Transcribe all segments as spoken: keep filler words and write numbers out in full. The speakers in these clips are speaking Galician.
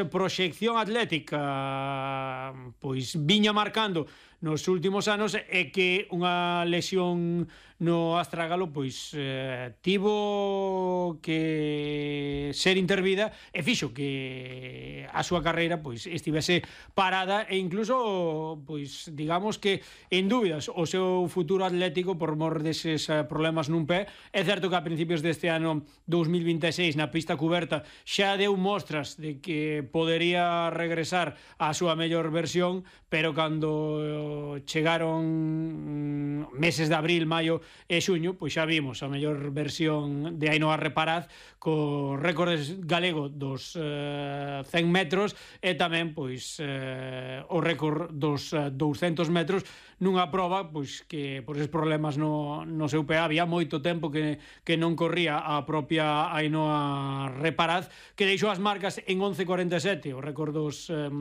proxección atlética pois viña marcando nos últimos anos é que unha lesión no astrágalo pois eh, tivo que ser intervida e fixo que a súa carreira pois estivese parada e incluso pois digamos que en dúbidas o seu futuro atlético por mor deses problemas nun pé. É certo que a principios deste ano dous mil vinte e seis na pista cuberta xa deu mostras de que podería regresar á súa mellor versión, pero cando chegaron meses de abril, maio e xuño, pois xa vimos a mellor versión de Ainhoa Reparaz co récord galego dos eh, cen metros e tamén pois eh, o récord dos eh, douscentos metros nunha proba pois que por esos problemas no, no seu pé había moito tempo que, que non corría a propia Ainhoa Reparaz, que deixou as marcas en once cuarenta e sete, o récord dos eh,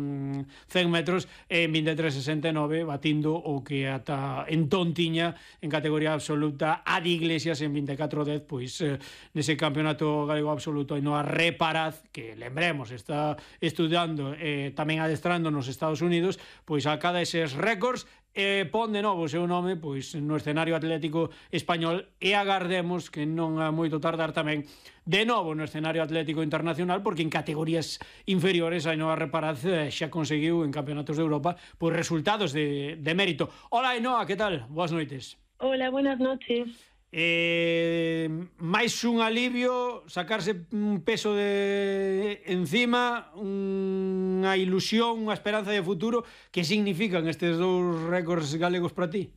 cen metros, en vinte e tres sesenta e nove, batindo o que ata entón tiña en categoría absoluta a de Iglesias en vinte e catro dez, pois eh, nese campeonato galego absoluto Ainhoa Reparaz, que lembremos está estudando e eh, tamén adestrando nos Estados Unidos, pois acada eses récords e pon de novo o seu nome pois no escenario atlético español e agardemos que non a moito tardar tamén de novo no escenario atlético internacional, porque en categorías inferiores Ainhoa Reparaz xa conseguiu en campeonatos de Europa pois resultados de, de mérito. Hola Ainhoa, que tal? Boas noites. Hola, buenas noches. Eh, máis un alivio, sacarse un peso de encima, unha ilusión, unha esperanza de futuro. Que significan estes dous récords galegos para ti?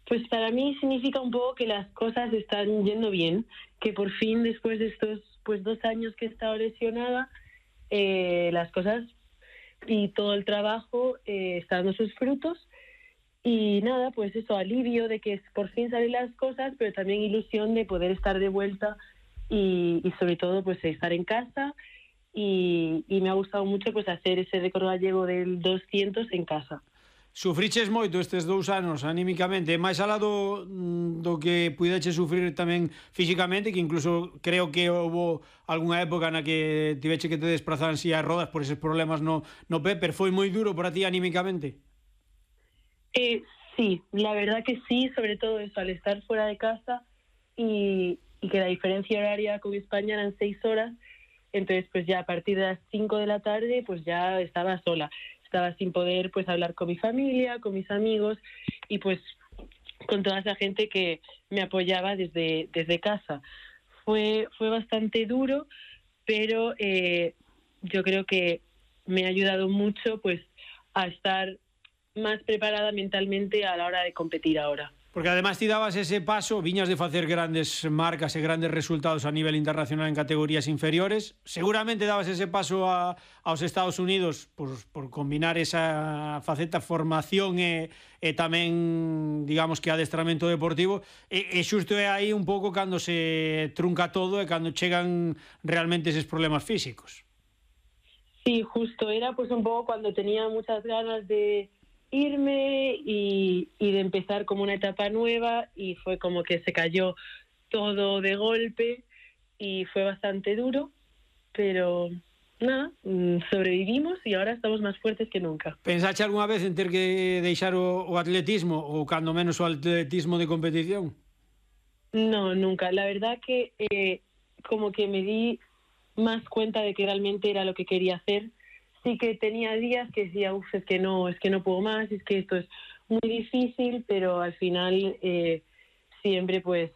Pues para mí significa un poco que las cosas están yendo bien, que por fin después de estos pues dos años que he estado lesionada, eh, las cosas y todo el trabajo eh, está dando sus frutos. Y nada, pues eso, alivio de que por fin salen las cosas, pero también ilusión de poder estar de vuelta y, y sobre todo pues estar en casa. Y, y me ha gustado mucho pues hacer ese récord gallego del doscientos en casa. Sufriches moito estes dous anos anímicamente, máis alá do, do que puideche sufrir tamén físicamente, que incluso creo que houve algunha época na que tiveche que te desplazar en silla de rodas por eses problemas no, no pé, pero foi moi duro para ti anímicamente. Eh, sí, la verdad que sí, sobre todo eso, al estar fuera de casa y, y que la diferencia horaria con España eran seis horas, entonces pues ya a partir de las cinco de la tarde pues ya estaba sola. Estaba sin poder pues hablar con mi familia, con mis amigos y pues con toda esa gente que me apoyaba desde, desde casa. Fue, fue bastante duro, pero eh, yo creo que me ha ayudado mucho pues a estar más preparada mentalmente a la hora de competir ahora. Porque además ti dabas ese paso, viñas de facer grandes marcas e grandes resultados a nivel internacional en categorías inferiores, seguramente dabas ese paso a, aos Estados Unidos por, por combinar esa faceta formación e, e tamén, digamos que adestramento deportivo, e, e xusto é aí un pouco cando se trunca todo e cando chegan realmente eses problemas físicos. Sí, justo, era pues un pouco cuando tenía muchas ganas de irme y, y de empezar como una etapa nueva y fue como que se cayó todo de golpe y fue bastante duro, pero nada, sobrevivimos y ahora estamos más fuertes que nunca. Pensaste alguna vez en ter que deixar o, o atletismo ou cando menos o atletismo de competición? No, nunca. La verdad que eh, como que me di más cuenta de que realmente era lo que quería hacer. Sí que tenía días que decía, uff, es que no, es que no puedo más, es que esto es muy difícil, pero al final eh, siempre pues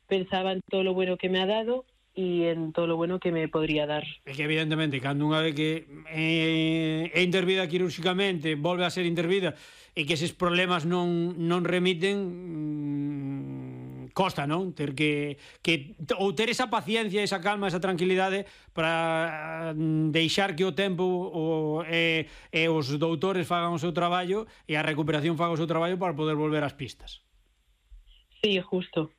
pensaba en todo lo bueno que me ha dado y en todo lo bueno que me podría dar. É que evidentemente, cando unha vez que é, é intervida quirúrxicamente, volve a ser intervida e que eses problemas non, non remiten, costa, non? Ter que, que ou ter esa paciencia, esa calma, esa tranquilidade para deixar que o tempo o, e, e os doutores fagan o seu traballo e a recuperación faga o seu traballo para poder volver ás pistas. Sí, justo.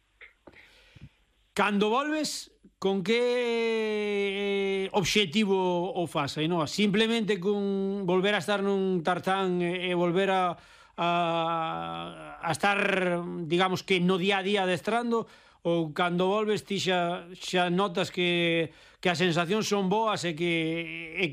Cando volves, con que obxectivo o fas, non? Simplemente con volver a estar nun tartán e volver a A, a estar, digamos que no día a día adestrando, ou cando volves ti xa, xa notas que, que as sensacións son boas e que, e que